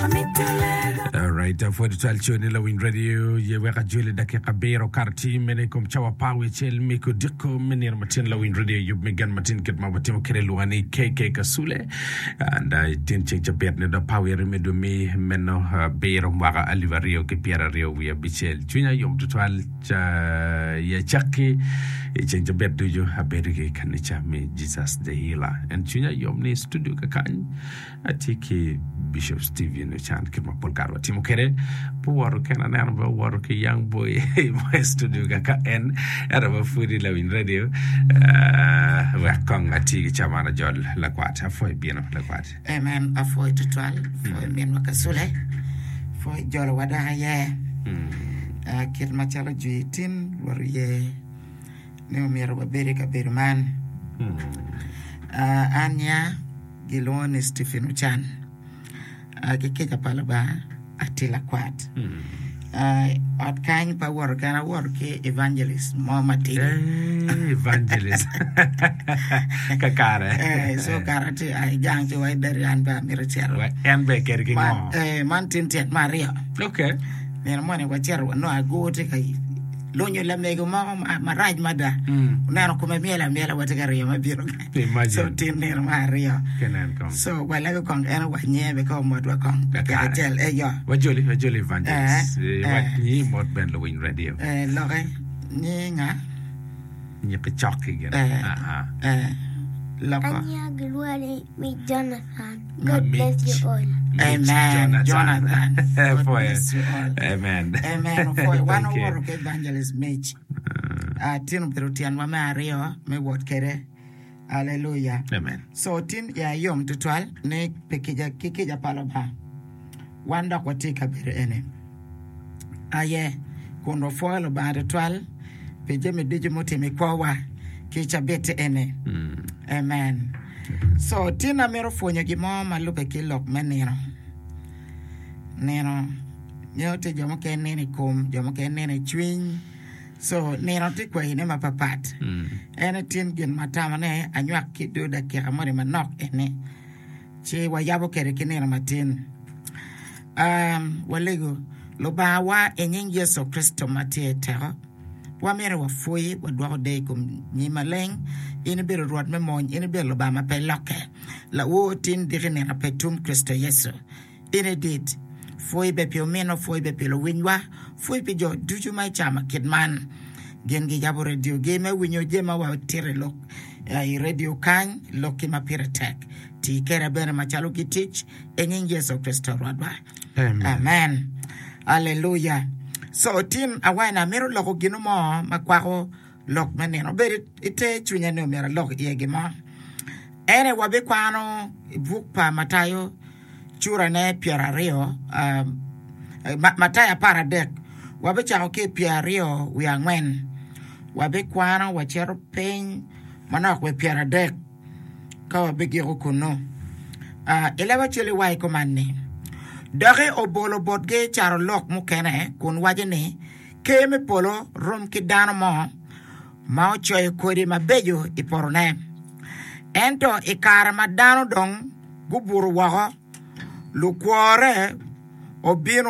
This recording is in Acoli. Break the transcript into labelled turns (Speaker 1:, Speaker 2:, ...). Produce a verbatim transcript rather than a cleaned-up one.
Speaker 1: Alright, pwod twal coni lawiny radio ye wek ajoli dakika abiro kato tye mene i kom cawa apar wiye acel me kodiko me nino matin lawiny radio yub me gen matin kit ma watimo kwede lwonga ni KK Kasule and uh, tin ceng cabit ni do apar wiye aryo me dwe me meno abiro mwaka alip aryo ki pyera aryo wiye abicel cwinya yom tutwal ca i acakki i ceng cabit ducu abedo ki kanica me Jesus the Healer en cwinya yom ni studio kakany atye ki Bishop Stephen Ochan kit ma pol kare watimo kwede pe owoto kene aneno be owoto ki young boy mo i studio kaka en ento ma pudi lawiny radio uh, wek kong ati ki caman ajol lakwat apwoyo bino lakwat
Speaker 2: Amen. Apwoyo tutwal. Apwoyo minwa Kasule. Apwoyo jolowa dok aye. Ah, kit macalo jwi tin Rwot oye ni omyero wabed i kabedo man. Ah, an nya gilwongo ni Stephen Ochan. Ah, ki kica pa Lubanga atye lakwat. Ah, ot kany pe awoto kena awoto ki evangelist mo matidi.
Speaker 1: Eh, evangelist kakare
Speaker 2: Eh, so kara tye ai gang ci wa idari an be amito cito.
Speaker 1: Wa en be kede ki
Speaker 2: Man,
Speaker 1: ngo
Speaker 2: eh, man tin tyen me aryo.
Speaker 1: okay
Speaker 2: Nino moni wacito wanongo agur tye ka lunyo lamego moko ma- marac mada.
Speaker 1: Mm.
Speaker 2: Oneno kome myel amyela watye ka riyo me bino.
Speaker 1: Imagine.
Speaker 2: So tin nino me aryo.
Speaker 1: Kenen kong
Speaker 2: So walego kong en wanye be ka omotwa kong.
Speaker 1: Kakare.
Speaker 2: Acel eyo.
Speaker 1: wajoli wajoli evangelist
Speaker 2: Eh,
Speaker 1: Eh, wach
Speaker 2: eh.
Speaker 1: nyi mot ben lawiny radio
Speaker 2: Eh, loke nyi nga
Speaker 1: nyiki cokki gin
Speaker 2: Eh.
Speaker 1: Aha.
Speaker 2: eh, loko.
Speaker 3: Anya gilwongo ni Jonathan. God
Speaker 1: Mitch.
Speaker 3: bless you all.
Speaker 1: Mitch
Speaker 2: Amen. Jonathan. God
Speaker 1: Pwoyo.
Speaker 2: bless you all.
Speaker 1: Amen.
Speaker 2: Amen. Opwoyo. Wan
Speaker 1: Thank you.
Speaker 2: owoto ki evangelist Mitch. Ah, tin obedo tyenwa me aryo me wot kede. Hallelujah.
Speaker 1: Amen.
Speaker 2: So tin ya yom tutwal ni pi kica ki kica pa Lubanga. Wan dok watye i kabedo eni. Aye kun wapwoyo Lubanga tutwal pi jami ducu mutimo i kwowa ki cabit eni. Amen. So tin amito pwonyo gin mo ma lubbe ki lok me nino. Nino nyo tye jo mukene nino i kom, jo mukene nino i cwiny. So nino tye kwayine mapapat. En tin gin ma tamone anywak ki do dakika moni manok eni. Ci wayabo kede ki nino matin. Um, walego Lubanga wa i nying Yecu Kricito ma tye i teko. Wamito wapwoyi wadwoko deyo i kom nyim maleng. In ibedo Rwot me mony, in ibedo Lubanga ma pe lokke. Lawor tin diki nino pe tum Kricito Yecu. In idit. Pwoyi be pi ominwa, pwoyi be pi luwinywa, pwoyi pi jo ducu ma icamo kit man. Gin giyabo radiogi me winyo jami ma watito i lok i radio kany lokki ma pire tek. Ti kede bene macalo gitic i nying Yecu Kricito Rwotwa.
Speaker 1: Amen.
Speaker 2: Amen. Hallelujah. So tin awene amito loko gino mo ma kwako lok me nino. Obedo ite cwinya ni omyero alok iye gin mo. Ene wabikwano i buk pa Matayo curane pyeraryo um, Ma- Matayo apar adek wabicako ki i pyeraryo wiye angwen wabikwano wacito piny manok wi pyeradek ka wabigiko kunu. Uh, i leb acel iwaco kuman ni doki obolo botgi carolok mukene kun waco ni ker me polo rom ki dano mo ma ocoyo kodi mabeco i potone. Ento i kare ma dano dong gubuto woko, lukworre obino